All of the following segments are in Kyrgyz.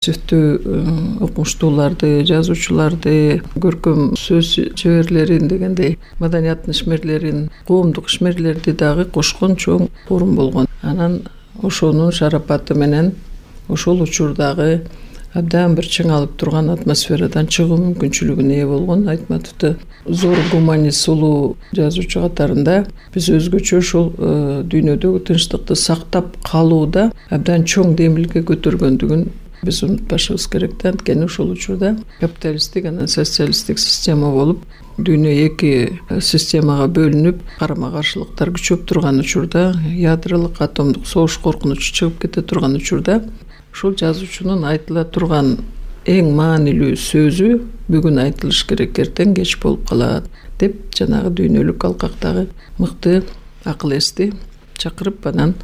Сүттүү окумуштууларды, жазуучуларды, көркөм сөз чеберлерин дегендей маданияттын ишмерлерин, коомдук ишмерлерди дагы кошкон чоң форум болгон. Анан ошонун шарапаты менен ошол учурдагы абдан бир чыңалып турган атмосферадан чыгуу мүмкүнчүлүгүнө ээ болгон Айтматовду зор гуманист, улуу жазуучу катарында биз өзгөчө ошол дүйнөдөгү тынчтыкты сактап калууда абдан чоң демилге көтөргөндүгүн биз унутпашыбыз керек да. Анткени ошол учурда капиталисттик анан социалисттик система болуп, дүйнө эки системага бөлүнүп, карама каршылыктар күчөп турган учурда, ядролук атомдук согуш коркунучу чыгып кете турган учурда ушул жазуучунун айтыла турган эң маанилүү сөзү бүгүн айтылыш керек, эртең кеч болуп калат деп жанагы дүйнөлүк алкактагы мыкты акыл эсти чакырып, анан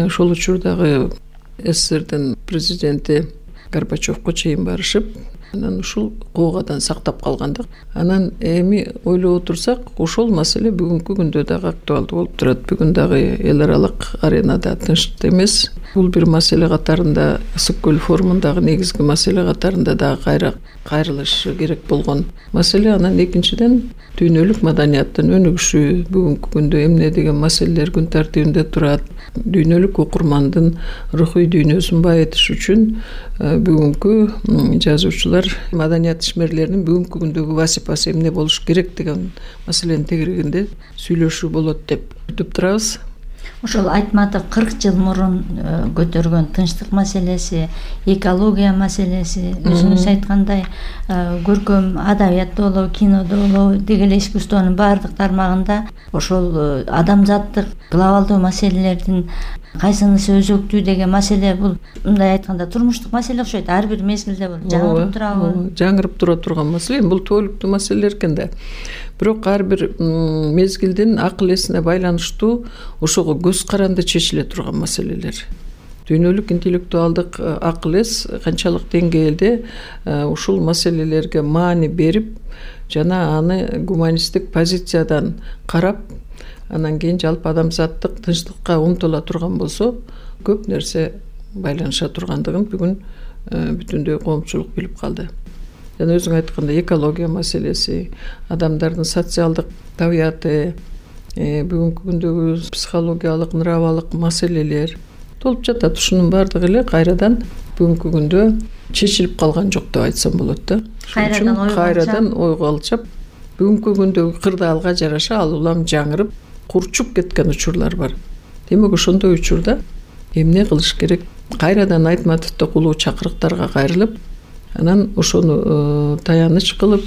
ошол учурдагы СССРдин президенти Горбачевко чейин барышып, анан ушул куугадан сактап калгандык. Анан эми ойлоп отурсак, ошол маселе бүгүнкү күндө дагы актуалдуу болуп турат. Бүгүн дагы эл аралык аренада тынчтык эмес. Бул бир маселе катарында, Ысык көл форумундагы негизги маселе катарында дагы кайрылыш керек болгон маселе. Анан экинчиден дүйнөлүк маданияттын өнүгүшү, бүгүнкү күндө эмне деген маселелер күн тартибинде турат, дүйнөлүк окурмандын рухий дүйнөсүн байытыш үчүн бүгүнкү жазуучулар, маданият ишмерлеринин бүгүнкү күндөгү вазифасы эмне болуш керек деген маселенин тегерегинде сүйлөшүү болот деп күтүп турабыз. Ошол Айтматов 40 жыл мурун көтөргөн тынчтык маселеси, экология маселеси, өзүңүз айткандай көркөм адабиятта болобу, кинодо болобу, деги эле искусствонун баардык тармагында ошол адамзаттык глобалдуу маселелердин кайсынысы өзөктүү деген маселе, бул мындай айтканда турмуштук маселе окшойт. Ар бир мезгилде бул жаңырып турабы? Жаңырып тура турган маселе. Бул түбөлүктүү маселелер экен да. Бирок ар бир мезгилдин акыл эсине байланыштуу ошого көз каранды чечиле турган маселелер. Дүйнөлүк интеллектуалдык акыл эс канчалык деңгээлде ушул маселелерге маани берип, жана аны гуманисттик позициядан карап, анан кийин жалпы адамзаттык тынчтыкка умтула турган болсо, көп нерсе байланыша тургандыгын бүгүн бүтүндөй коомчулук билип калды. Жана өзүң айткандай экология маселеси, адамдардын социалдык табияты, бүгүнкү күндөгү психологиялык, нравалык маселелер толуп жатат. Ушунун баардыгы эле кайрадан бүгүнкү күндө чечилип калган жок деп айтсам болот да. Кайрадан ойго алчап, бүгүнкү күндөгү кырдаалга жараша ал улам жаңырып, курчуп кеткен учурлар бар. Демек ошондой учурда эмне кылыш керек? Кайрадан Айтматовдок улуу чакырыктарга кайрылып, анан ошону таяныч кылып,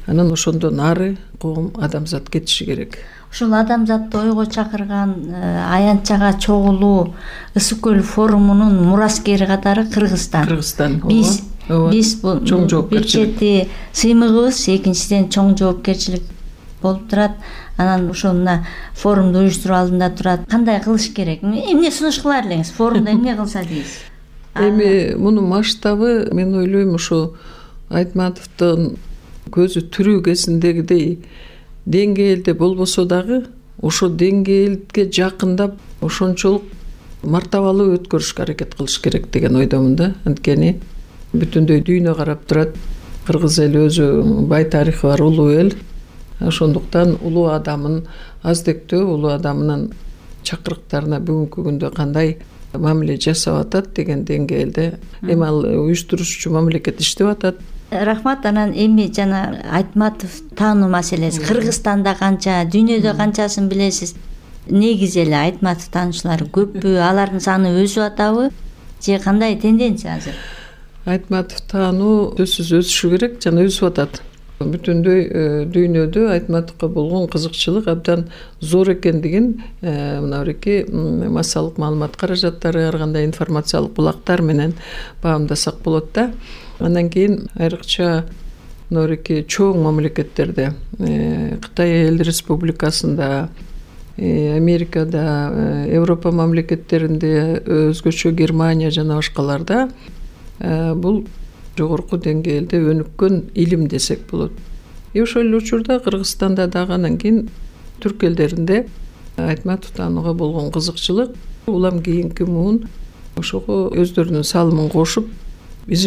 анан ошондон ары коом, адамзат кетиши керек. Ушул адамзатты ойго чакырган аянтчага чогулуу Ысык көл форумунун мураскери катары Кыргызстан. Биз бул чоң жоопкерчилик. Бир чети сыймыгыбыз, экинчиден чоң жоопкерчилик болуп турат. Анан ошол мына форумду уюштуруу алдында турат. Кандай кылыш керек? Эмне сунуш кылар элеңиз? Форумда эмне кылса дейсиз? Эми мунун масштабы, мен ойлойм, ошо Айтматовдун көзү тирүү кезиндегидей деңгээлде болбосо дагы, ошо деңгээлге жакындап, ошончолук мартабалуу өткөрүшкө аракет кылыш керек деген ойдомун да. Анткени бүтүндөй дүйнө карап турат. Кыргыз эли өзү бай тарыхы бар улуу эл. Ошондуктан улуу адамын аздектөө, улуу адамынын чакырыктарына бүгүнкү күндө кандай мамиле жасап атат деген деңгээлде эми ал уюштуруучу мамлекет иштеп атат. Рахмат. Анан эми жана Айтматов таануу маселеси Кыргызстанда канча, дүйнөдө канчасын билесиз? Негизи эле Айтматов таануучулары көппү? Алардын саны өсүп атабы? Же кандай тенденция азыр? Айтматов таануу сөзсүз өсүшү керек, жана өсүп атат. Бүтүндөй дүйнөдө Айтматовго болгон кызыкчылык абдан зор экендигин мына бирки массалык маалымат каражаттары, ар кандай информациялык булактар менен баамдасак болот да. Андан кийин айрыкча мына бирки чоң мамлекеттерде, Кытай Эл Республикасында, Америкада, Европа мамлекеттеринде, өзгөчө Германия жана башкаларда бул жогорку деңгээлде өнүккөн илим десек болот. Ошол эле учурда Кыргызстанда дагы, анан кийин түрк элдеринде Айтматов таанууга болгон кызыкчылык улам кийинки муун ошого өздөрүнүн салымын кошуп, үзүлүп